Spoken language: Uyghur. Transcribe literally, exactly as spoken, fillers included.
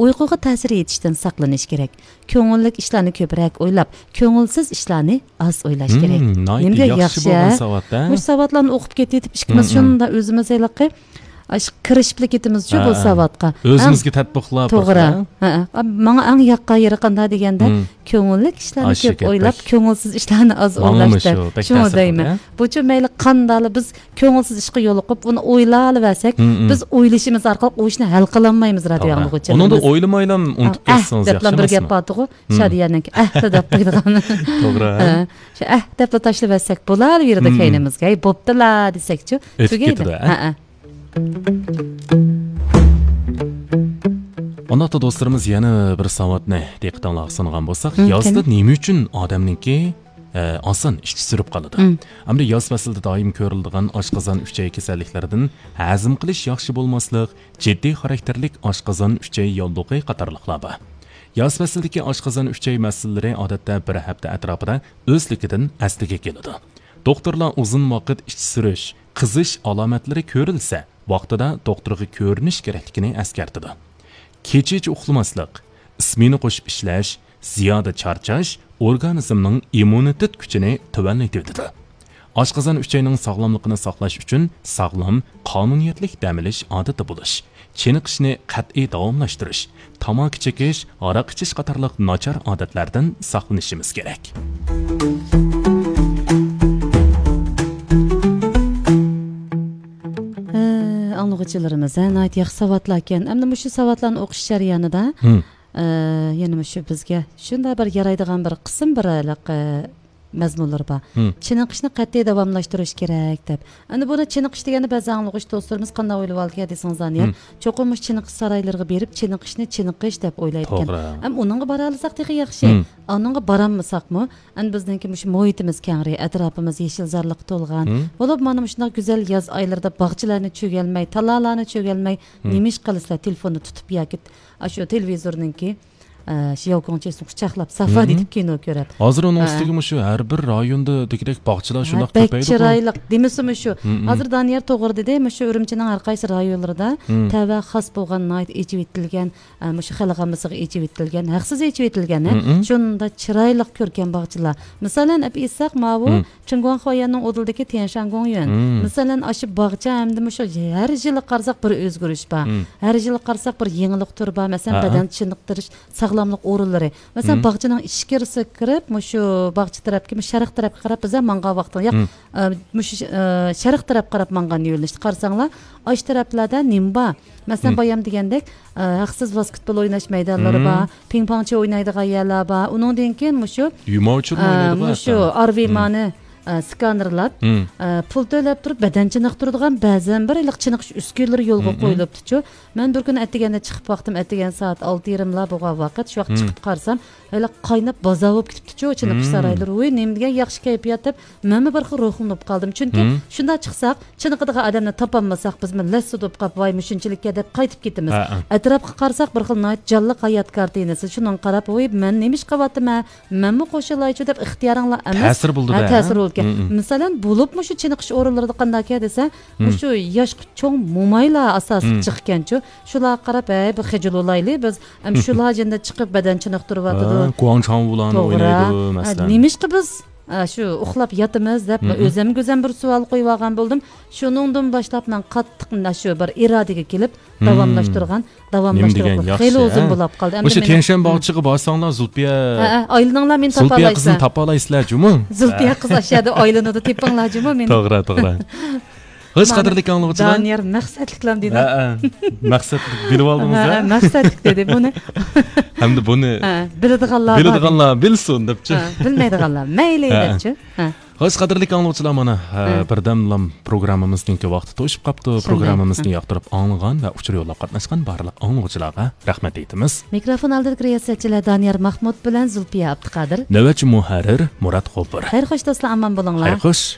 ئۇيقۇغا تەسىر يېتىشتىن ساقلىنىش كېرەك. كۆڭۈللۈك ئىشلارنى كۆپرەك ئويلاپ، كۆڭۈلسىز ئىشلارنى ئاز ئويلاش كېرەك. نېمىگە ياخشى بولغان ساۋات، ھە؟ مۇشۇ ساۋاتلارنى ئوقۇپ كېتىۋېتىپ، ئىككىمىز شۇنداق ئۆزىمىز ھېلىقى ئاشۇ كىرىشىپلا كېتىمىزچۇ بۇ ساۋاتقا. ئۆزىمىزگە تەتبىقلاپ، توغرا. ھە، ھە. ماڭا ئەڭ ياققان يېرى قانداق دېگەندە، كۆڭۈللۈك ئىشلارنى كۆپ ئويلاپ، كۆڭۈلسىز ئىشلارنى ئاز ئويلاش دەپ. شۇڭا دەيمەن. بۇچۇ مەيلى قانداقلا بىز كۆڭۈلسىز ئىشقا يولۇقۇپ، ئۇنى ئويلاۋەرسەك، بىز ئويلىشىمىز ئارقىلىق ئۇ ئىشنى ھەل قىلالمايمىز، رادىيو ئاڭلىغۇچىلىرىمىز. ئۇنىڭدا ئويلىمايلا ئۇنتۇپ كەتسىڭىز ياخشى ئەمەسمۇ؟ دەپلا بىر گەپ بارتىغۇ، شادىيەنىڭكى ئەھلا دەپ قويىدىغان. توغرا. ھە، شۇ ئەھ دەپلا تاشلىۋەتسەك بولالىۋېرىدۇ كەينىمىزگە. ھەي، بوپتىلا دېسەكچۇ، ئۆتۈپ تۈگەيدۇ. كېتىدۇ، ھە؟ ھە، ھە. ئۇنداقتا دوستلىرىمىز يەنە بىر ساۋاتنى دىققىتىڭلارغا سۇنغان بولساق، يازدا نېمە ئۈچۈن ئادەمنىڭكى، ئە، ئاسان ئىچى سۈرۈپ قالىدۇ؟ ئەمدى ياز پەسلىدە دائىم كۆرۈلىدىغان ئاشقازان ئۈچەي كېسەللىكلىرىدىن ھەزىم قىلىش ياخشى بولماسلىق، جىددىي خاراكتېرلىك ئاشقازان ئۈچەي ياللۇغى قاتارلىقلار بار. ياز پەسلىدىكى ئاشقازان ئۈچەي مەسىلىلىرى ئادەتتە بىر ھەپتە ئەتراپىدا ئۆزلۈكىدىن ئەسلىگە كېلىدۇ. دوختۇرلار ئۇزۇن ۋاقىت ئىچ سۈرۈش، قىزىش ئالامەتلىرى كۆرۈلسە، ۋاقتىدا دوختۇرغا كۆرۈنۈش كېرەكلىكىنى ئەسكەرتىدۇ. كېچىچە ئۇخلىماسلىق، ئىسمېنا قوشۇپ ئىشلەش، زىيادە چارچاش ئورگانىزمنىڭ ئىممۇنىتېت كۈچىنى تۆۋەنلىتىۋېتىدۇ. ئاشقازان ئۈچەينىڭ ساغلاملىقىنى ساقلاش ئۈچۈن ساغلام، قانۇنىيەتلىك دەم ئېلىش ئادىتى بولۇش، چېنىقىشنى قەتئىي داۋاملاشتۇرۇش، تاماكا چېكىش، ھاراق ئىچىش قاتارلىق ناچار ئادەتلەردىن ساقلىنىشىمىز كېرەك. ھە، ئاڭلىغۇچىلىرىمىز، ھە، ناھايىتى ياخشى ساۋاتلاركەن. ئەمدى مۇشۇ ساۋاتلارنى ئوقۇش جەريانىدا، ھە، يەنە مۇشۇ بىزگە شۇنداق بىر يارايدىغان بىر قىسىم بىر ھېلىقى مەزمۇنلىرى بار. چېنىقىشنى قەتئىي داۋاملاشتۇرۇش كېرەك دەپ. ئەمدى بۇنى چېنىقىش دېگەندە بەزى ئاڭلىغۇچى دوستلىرىمىز قانداق ئويلىۋالىدىكەن دېسىڭىز، دانىيار، چوقۇم مۇشۇ چېنىقىش سارايلىرىغا بېرىپ چېنىقىشنى چېنىقىش دەپ ئويلايدىكەن. توغرا. ئەم، ئۇنىڭغا بارالىساق تېخى ياخشى. ئۇنىڭغا بارالمىساقمۇ، ئەمدى بىزنىڭكى مۇشۇ مۇھىتىمىز كەڭرى، ئەتراپىمىز يېشىلزارلىققا تولغان. بولۇپ مانا مۇشۇنداق گۈزەل ياز ئايلىرىدا باغچىلارنى چۆگەلمەي، تالالارنى چۆگەلمەي، نېمە ئىش قىلىسىلەر؟ تېلېفوننى تۇتۇپ ياكى ئاشۇ تېلېۋىزورنىڭكى، ئە، شياۋكۇڭچىسىنى قۇچاقلاپ، سافا دېتىپ كىنو كۆرۈپ. ھازىر ئۇنىڭ ئۈستىگە مۇشۇ ھەر بىر رايوندا دېگۈدەك باغچىلار شۇنداق بەك كۆپەيدىغۇ. چىرايلىق دېمىسىمۇ شۇ. ھازىر دانىيار توغرا دېدى، مۇشۇ ئۈرۈمچىنىڭ ھەر قايسى رايونلىرىدا تەۋە خاس بولغان ناھايىتى ئېچىۋېتىلگەن، ئە، مۇشۇ خەلق ئاممىسىغا ئېچىۋېتىلگەن، ھەقسىز ئېچىۋېتىلگەن، ھە، شۇنداق چىرايلىق كۆركەم باغچىلار. مىسالەن ئەپ ئېيتساق، ماۋۇ چىڭگۇاڭخۇا يەننىڭ ئۇدۇلىدىكى تيەنشان گوڭيۈەن. مىسالەن ئاشۇ باغچە ئەمدى مۇشۇ ھەر يىلى قارىساق بىر ئۆزگىرىش بار. ھەر يىلى قارىساق بىر يېڭىلىق تۈرى بار. مەسىلەن، بەدەن چېنىقتۇرۇش ساغلاملىق ئورۇنلىرى. مەسىلەن، باغچىنىڭ ئىچكىرىسىگە كىرىپ، مۇشۇ باغچە تەرەپكە، مۇشۇ شەرق تەرەپكە قاراپ بىزلەر ماڭغان ۋاقتىدا، ياق، ئە، مۇشۇ، ئە، شەرق تەرەپكە قاراپ ماڭغان يۆنىلىشتە قارىساڭلار، ئاشۇ تەرەپلەردە نېمە بار؟ مەسىلەن، بايام دېگەندەك، ئە، ھەقسىز ۋاسكېتبول ئويناش مەيدانلىرى بار، پىڭ پاڭچى ئوينايدىغان يەرلەر بار. ئۇنىڭدىن كېيىن مۇشۇ، يۇماۋچىلمۇ ئە، ئوينايدىغان مۇشۇ ئارۋىمانى، ئە، سكانېرلاپ، ئە، پۇل تۆلەپ تۇرۇپ بەدەن چېنىقتۇرىدىغان بەزەن بىر ھېلىقى چېنىقىش ئۈسكۈنىلىرى يولغا قويۇلۇپتۇچۇ. مەن بىر كۈنى ئەتىگەندە چىقىپ باقتىم، ئەتىگەن سائەت ئالتە يېرىملا بولغان ۋاقىت، شۇ ۋاقىت چىقىپ قارىسام، ھېلىقى قايناپ بازار بولۇپ كېتىپتىچۇ، چېنىقىش سارايلىرى. ۋۇي، نېمە دېگەن ياخشى كەيپىيات دەپ، مەنمۇ بىر خىل روھۇمنى ئۇپ قالدىم. چۈنكى شۇنداق چىقساق، چېنىقىدىغان ئادەمنى تاپالمىساق، بىزمۇ لەسسىدە بولۇپ قاپ، ۋاي، مۇشۇنچىلىككە دەپ قايتىپ كېتىمىز. ئەتراپقا قارىساق، بىر خىل ناھايىتى جانلىق ھايات كارتىنىسى. شۇنىڭغا قاراپ، ۋۇي، مەن نېمە ئىش قىلىۋاتىمەن؟ مەنمۇ قوشۇلايچۇ دەپ ئىختىيارىڭلار ئەمەس. تەسىر بولىدۇ ھە، تەسىر بولىدىكەن. مىسالەن، بولۇپمۇ شۇ چېنىقىش ئورۇنلىرىدا قانداقكەن دېسە، مۇشۇ ياشقا چوڭ مومايلار ئاساسلىق چىققانچۇ. شۇلارغا قاراپ، ھەي، بىر خىجىل بولايلى، بىز ئەم شۇلار جېنىدە چىقىپ بەدەن چېنىقتۇرۇۋاتىدۇ. ھە، گۇاڭچاڭۋۇلارنى توغرا. ئوينايدۇ، ھە، مەسىلەن. نېمىشقا بىز، ئە، شۇ ئۇخلاپ ياتىمىز دەپ، مم. ئۆزەمگە ئۆزەم بىر سوئال قويۇۋالغان بولدىم. شۇنىڭدىن باشلاپ مەن قاتتىق، مە، شۇ بىر ئىرادىگە كېلىپ، مم. داۋاملاشتۇرغان، نېمە دېگەن داۋاملاشتۇرغان ياخشى، خېلى ئۇزۇن ھە؟ بولۇپ قالدى. ئەمدى مۇشۇ مېنىڭ تيەنشەن باغچىغا بارساڭلار، زۇلپىيە، ھە، ھە، ئايلىنىڭلار، مېنى زۇلپىيە تاپالايسىلەر. قىزىنى تاپالايسىلەر جۇمۇ. زۇلپىيە قىز ئاشۇ يەردە ئايلىنىدۇ، تېپىڭلار جۇمۇ مېنى. توغرا، توغرا. خوش، مانا قەدىرلىك ئاڭلىغۇچىلار. دانىيار مەقسەتلىكلام دېدى. ھە، ھە. مەقسەت بىلىۋالدىڭىز، ھە، ھە؟ ھە، مەقسەتلىك دېدى بۇنى. ھەمدە بۇنى ھە، بىلىدىغانلار بار. بىلىدىغانلار بىلسۇن دەپچۇ. ھە، بىلمەيدىغانلار مەيلى ھە، ھە. دەپچۇ. ھە. خوش، قەدىرلىك ئاڭلىغۇچىلار، مانا، ھە، ھە. بىردەملام پروگراممىمىزنىڭكى ۋاقتى توشۇپ قاپتۇ. شۇنداق. پروگراممىمىزنى ھە. ياقتۇرۇپ ئاڭلىغان ۋە ئۇچۇر يوللاپ قاتناشقان بارلىق ئاڭلىغۇچىلارغا رەھمەت ئېيتىمىز. مىكروفون ئالدىدىكى رىياسەتچىلەر دانىيار ماھمۇت بىلەن زۇلپىيە ئابدۇقادىر. نۆۋەتچى مۇھەررىر مۇرات غوپۇر. خەير خوش دوستلار، ئامان بولۇڭلار. خەير خوش.